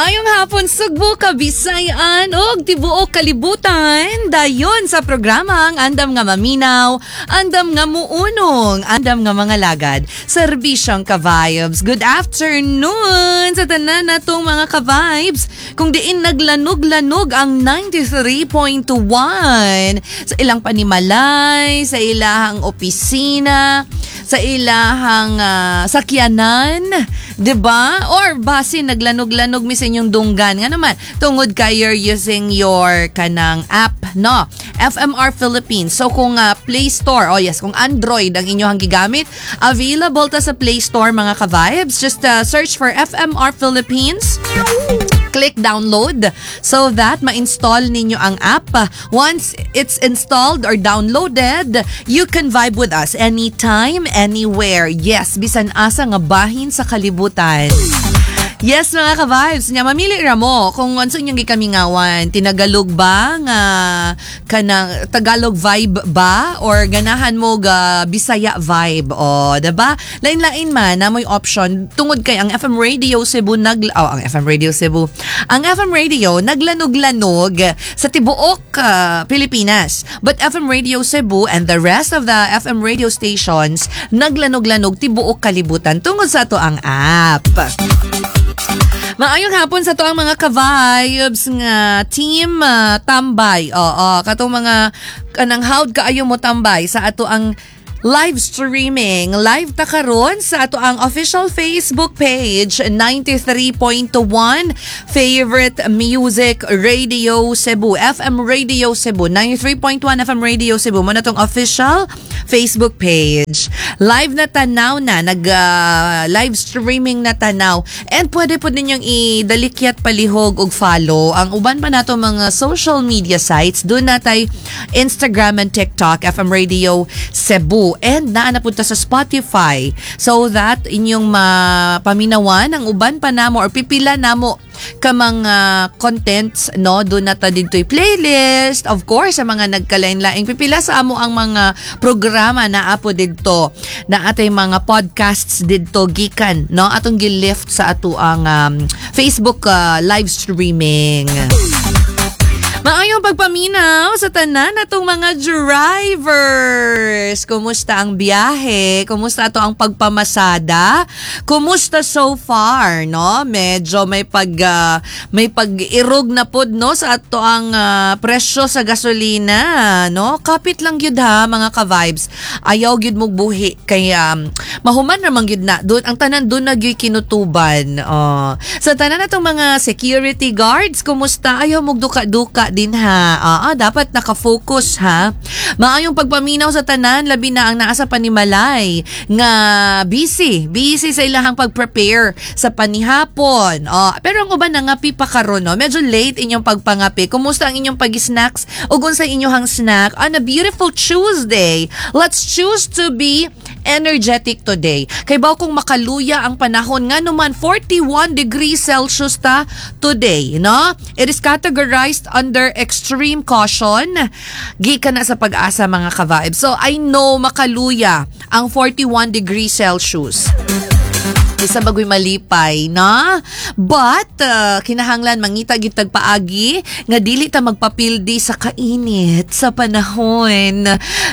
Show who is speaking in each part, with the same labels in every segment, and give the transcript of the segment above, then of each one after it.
Speaker 1: Maayong hapon, Sugbo, Kabisayan ug tibuok kalibutan. Dayon sa programa ang andam nga maminaw, andam nga muunong, andam nga mga lagad. Serbisyong ka-vibes. Good afternoon sa tanan natong mga ka-vibes. Kung diin naglanog-lanog ang 93.1 sa ilang panimalay, sa ilahang opisina, sa ilahang sakyanan, 'di ba? Or basin naglanog-lanog mi sa inyong dunggan. Nga naman, tungod kay you're using your kanang app, no? FMR Philippines. So kung Play Store, oh yes, kung Android ang inyong gigamit, available ta sa Play Store, mga ka-vibes. Just search for FMR Philippines, click download so that ma-install ninyo ang app. Once it's installed or downloaded, you can vibe with us anytime, anywhere. Yes, bisan asa nga bahin sa kalibutan. Yes, mga ka-vibes. Nya, mamili ra mo kung unsa inyong gikamingawan. Tinagalog ba nga kanang Tagalog vibe ba or ganahan mo ga Bisaya vibe? O, 'di ba? Lain-lain man na mo'y option tungod kay ang FM Radio Cebu nag oh, ang FM Radio Cebu. Ang FM Radio naglanog-lanog sa tibuok Pilipinas. But FM Radio Cebu and the rest of the FM radio stations naglanog-lanog tibuok kalibutan tungod sa ato ang app. Maayong hapon sa to ang mga ka-vibes nga team tambay. Oo, katong mga kanang hawd kaayo mo tambay sa ato ang live streaming. Live ta karon sa ato ang official Facebook page, 93.1 Favorite Music Radio Cebu, FM Radio Cebu, 93.1 FM Radio Cebu. Mao na tong official Facebook page. Live na tanaw na, nag live streaming na tanaw. And pwede po ninyong idalikyat palihog og follow ang uban pa nato mga social media sites. Doon natay Instagram and TikTok, FM Radio Cebu. And naa na punta sa Spotify so that inyong mapaminawan ang uban pa namo or pipila namo ka mga contents, no? Doon na ta didto'y playlist, of course, sa mga nagkalain-laing pipila sa amo ang mga programa na apo didto na atay mga podcasts didto gikan, no, atong gilift sa ato ang Facebook live streaming. Maayong pagpaminaw sa tanan natong mga drivers. Kumusta ang biyahe? Kumusta ato ang pagpamasada? Kumusta so far, no? Medyo may pag-irog na pod, no, sa ato ang presyo sa gasolina, no? Kapit lang gyud ha, mga ka-vibes. Ayaw gyud mo buhi kay mahuman ra man gyud na. Doon ang tanan doon na gyud kinutuban. Oh. Sa tanan natong mga security guards, kumusta? Ayaw mo duka-duka din ha. Dapat naka-focus ha. Maayong pagpaminaw sa tanan, labi na ang naa sa panimalay nga busy, busy sa ilahang pag-prepare sa panihapon. Oh, pero ang uban nangapi pa karon, no. Medyo late inyong pagpangapi. Kumusta ang inyong pag-snacks ug unsa inyong snack on a beautiful Tuesday? Let's choose to be energetic today. Kay baw kung makaluya ang panahon nga naman, 41 degrees Celsius ta today, no? It is categorized under extreme caution. Gikan na sa PAGASA, mga ka-vibes. So I know makaluya ang 41 degrees Celsius. Isa bagoy malipay, no? But, kinahanglan mangita gyud tag paagi nga dili ta magpapildi sa kainit sa panahon.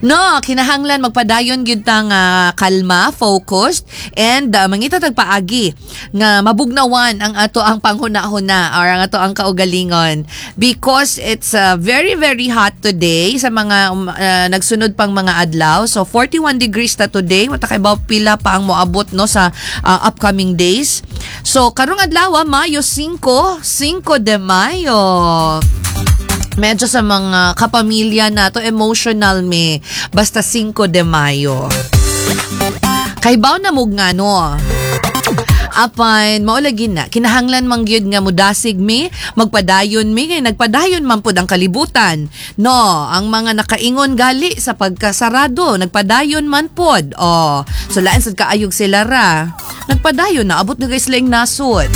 Speaker 1: No, kinahanglan magpadayon gyud ta nga kalma, focused, and mangita tag paagi nga mabugnawan ang ato ang panghuna-huna or ang ato ang kaugalingon because it's very very hot today sa mga nagsunod pang mga adlaw. So 41 degrees ta today, wa ta kay pila pa ang moabot, no, sa upcoming days. So karong adlaw, Mayo 5, 5 de Mayo. Medyo sa mga kapamilya na to, emotional me basta 5 de Mayo. Kay baw na mug nga no. Apan mao lagi na kinahanglan man gyud nga mudasig mi, magpadayon mi kay nagpadayon man pud ang kalibutan. No, ang mga nakaingon gali sa pagkasarado, nagpadayon man pod. Oh, so lain sad kaayog sila ra. Nagpadayon na abot na guys sila nasod.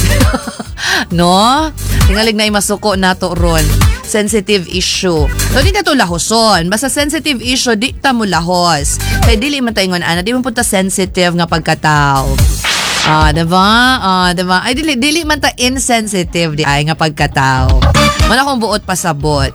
Speaker 1: No? Tingalig na masuko nato ron. Sensitive issue. So, di na to lahoson. Basta sensitive issue, di ta mo lahos. Kay dili man ta ingon ana, di man punta sensitive nga pagkatao. Ah, diba? Ah, diba? Ay, dili, dili man ta insensitive diay nga pagkatao. Wala akong buot pasabot.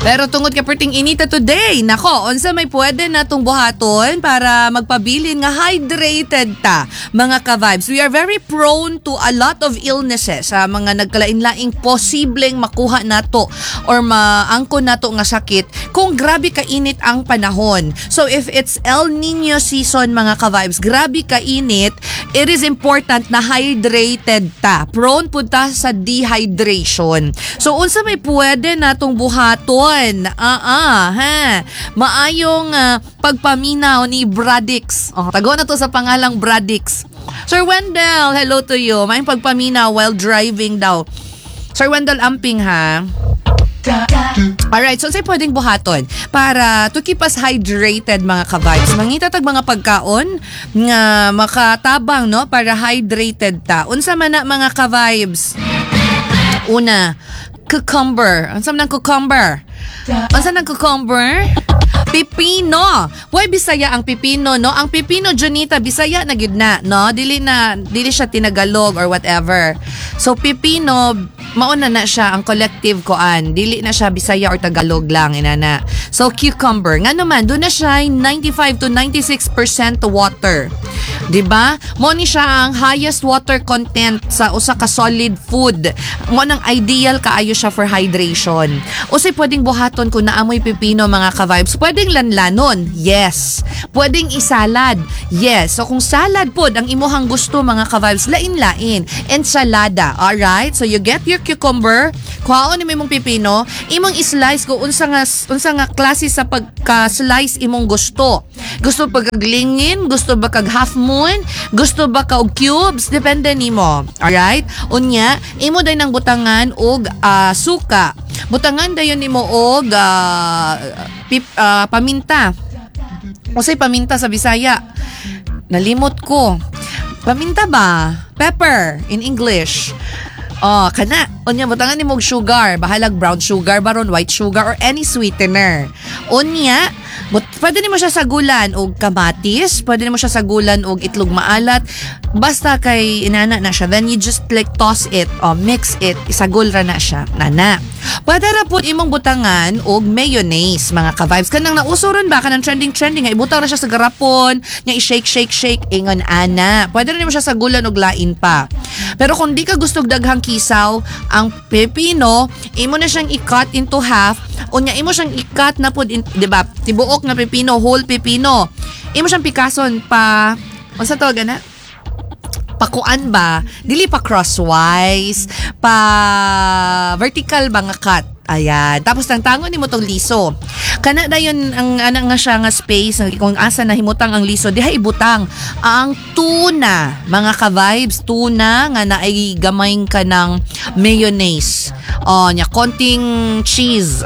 Speaker 1: Pero tungod kay perting inita today, nako, unsa may pwede natong buhaton para magpabilin nga hydrated ta, mga ka-vibes? We are very prone to a lot of illnesses sa mga nagkalain-laing posibleng makuha nato or maangkon nato nga sakit kung grabe kainit ang panahon. So if it's El Nino season, mga ka-vibes, grabe kainit, it is important na hydrated ta. Prone pud ta sa dehydration. So unsa may pwede natong buhaton? Ah, ha. Maayong pagpaminaw ni Bradix. Oh, tago na to sa pangalang Bradix. Sir Wendell, hello to you. Maayong pagpaminaw while driving daw. Sir Wendell, amping ha. Alright, so unsay pwedeng buhaton para to keep us hydrated, mga ka-vibes? Mangita tag mga pagkaon nga makatabang, no, para hydrated ta. Unsa man na, mga ka-vibes? Una, cucumber. Unsa man ang cucumber? Unsa nang cucumber? Pipino. Why Bisaya ang pipino, no? Ang pipino, Junita, Bisaya na gyud na, no? Dili na dili siya tinagalog or whatever. So pipino, mauna na siya ang collective koan. Dili na siya Bisaya or Tagalog lang inana. So cucumber, nga naman duna siya 95 to 96% water. 'Di ba? Mo ni siya ang highest water content sa usa ka solid food. Mo nang ideal kaayo siya for hydration. Unsay pwedeng buhaton kung naa moy pipino, mga ka-vibes? Pwedeng lanlanon. Yes. Pwedeng isalad. Yes. So kung salad pod ang imuhang gusto, mga ka-vibes, lain-lain. Ensalada. Alright? So you get your cucumber, kuhaon nimo imong pipino, imong i-slice kung unsa nga klase sa pagka-slice imong gusto. Gusto pagkaglingin, gusto ba kag half moon, gusto ba ka og cubes, depende nimo. Alright? Unya, imo day nang butangan og suka. Butangan dayon nimo og paminta. Unsay paminta sa Bisaya? Nalimot ko. Paminta ba? Pepper in English. Oh, kana. Unya, butangan nimo og sugar, bahalag brown sugar baron, white sugar or any sweetener. Unya, pwede nimo siya sagulan og kamatis, pwede nimo siya sagulan og itlog maalat. Basta kay inana na siya. Then you just like toss it o mix it, isagol ra na siya. Nana. Pwede ra pud imong butangan og mayonnaise, mga ka-vibes. Kanang nauso ron ba, kanang trending trending nga ibutang ra siya sa garapon, nya i-shake shake shake ingon ana. Pwede ra nimo siya sagulan og lain pa. Pero kung di ka gusto og daghang kisaw, ang pepino, imo na siyang i-cut into half, unya imo siyang i-cut na pud, di ba? Tibuok nga pepino, whole pepino. Imo siyang pikason pa, unsa tawag ana? Pakuan ba? Dili pa crosswise, pa vertical ba nga cut. Ayan. Tapos tangtangon nimo tong liso. Kana dayon ang ana nga siya nga space kung asa na himutang ang liso, diha ibutang ang tuna. Mga ka-vibes, tuna nga naay gamay ka ng mayonnaise. Oh, nya konting cheese.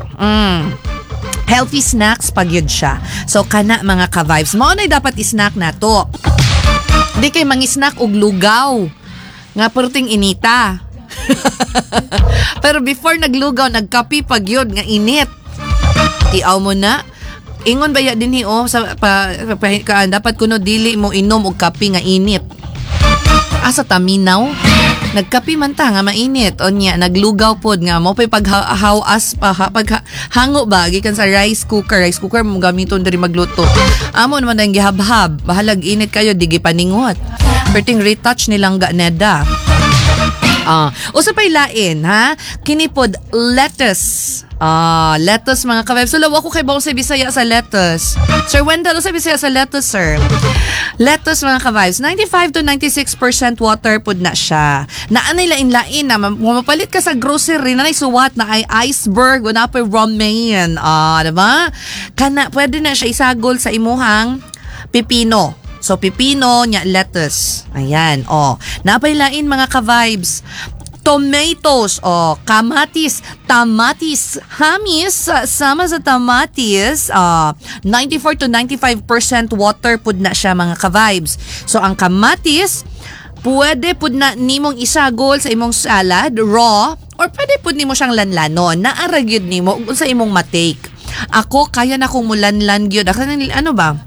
Speaker 1: Healthy snacks pag yun siya. So kana, mga ka-vibes, mao na dapat i-snack nato. Di kay mangi-snack og lugaw nga perting inita. Pero before naglugaw, nagkape pag yun nga init. Tiaw mo na. Ingon ba ya dinhi oh sa pa, kaan, dapat kuno dili mo inom og kape nga init. Asa taminaw? Nagkape man ta nga mainit. Onya, naglugaw pod nga mo pay paghawas pa ha, pag hango ba gikan sa rice cooker. Rice cooker mo gamiton diri magluto. Amo naman ang gihabhab. Bahalag init kayo, di gipaningot. Perting retouch nilang ga neda. Ah, usa pay lain ha. Kini pod, lettuce. Ah, lettuce, mga ka-vibes. So, ako kay sa Bisaya sa lettuce. Sir Wendell, sa Bisaya sa lettuce, sir? Lettuce, mga ka-vibes, 95 to 96% water pud na siya. Naanay lain-lain na mapalit ka sa grocery na suwat na ay iceberg, wala pa romaine. Ah, diba? Kana pwede na siya isagol sa imuhang pipino. So, pipino, nya lettuce. Ayan, oh. Napay lain, mga ka-vibes. Tomatoes, oh, kamatis, tamatis, hamis, sama sa tamatis, 94 to 95% water pud na siya, mga ka-vibes. So, ang kamatis, pwede pud na nimong isagol sa imong salad, raw, or pwede pud nimo siyang lanlanon. Naara gyud nimo sa imong matake. Ako, kaya na kong mulanlan gyud. Ako, ano ba?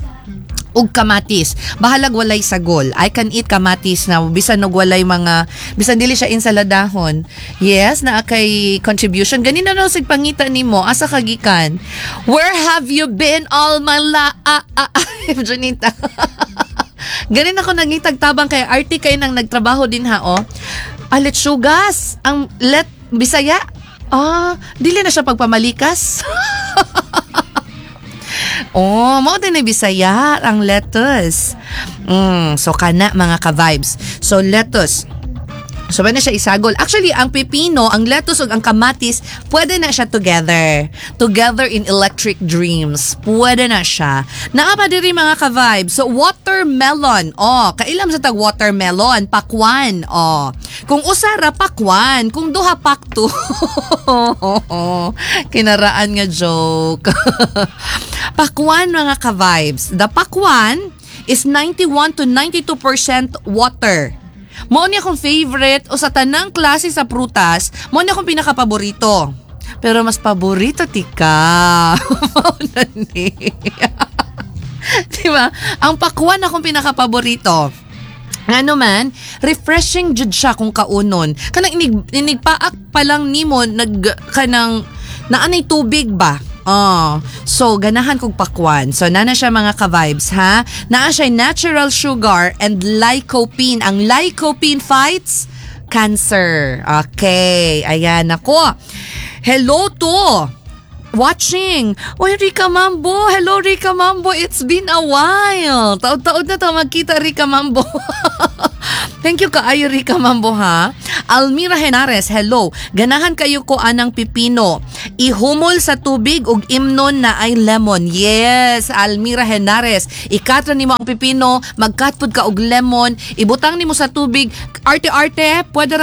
Speaker 1: Ug kamatis. Bahalag walay sagol. I can eat kamatis na bisan og walay mga, bisan dili siya insaladahon. Yes, naa kay contribution. Ganina na sig pangita nimo, asa ka gikan? Where have you been all my life? Junita. Ganin ako nangitag tabang kay arte kay nang nagtrabaho din ha, oh. Ah, letsugas. Ang let Bisaya. Ah, dili na siya pagpamalikas. Oh, mao din na Bisaya ang lettuce. So kana, mga ka-vibes. So lettuce. So, pwede na siya isagol. Actually, ang pipino, ang lettuce ug ang kamatis, pwede na siya together. Together in electric dreams. Pwede na siya. Naa pa diri, mga ka-vibes. So, watermelon. Oh, kailam sa tag watermelon. Pakwan. Oh. Kung usa ra, pakwan. Kung duha, pakto. Kinaraan nga joke. Pakwan, mga ka-vibes. The pakwan is 91 to 92% water. Mao ni akong favorite o sa tanang klase sa prutas, mao ni akong pinakapaborito. Pero mas paborito tika. Mao na ni. Di ba? Ang pakwan akong pinakapaborito. Ano man, refreshing jud siya kung kaunon. Kanang inig paak pa lang nimo, nag kanang naanay tubig ba? Oh, so ganahan kog pakwan. So nana siya, mga ka-vibes, ha. Naa siya natural sugar and lycopene. Ang lycopene fights cancer. Okay, ayan ako. Hello to watching. Oy, Rika Mambo. Hello, Rika Mambo. It's been a while. Taod-taod na to magkita, Rika Mambo. Thank you kaayo, Rika Mambo, ha. Almira Henares, hello. Ganahan kayo ko anang pipino. Ihumol sa tubig ug imnon na ay lemon. Yes, Almira Henares. I-cut ra nimo ang pipino, mag-cut pud ka og lemon, ibutang nimo sa tubig. Arte-arte, pwede ra.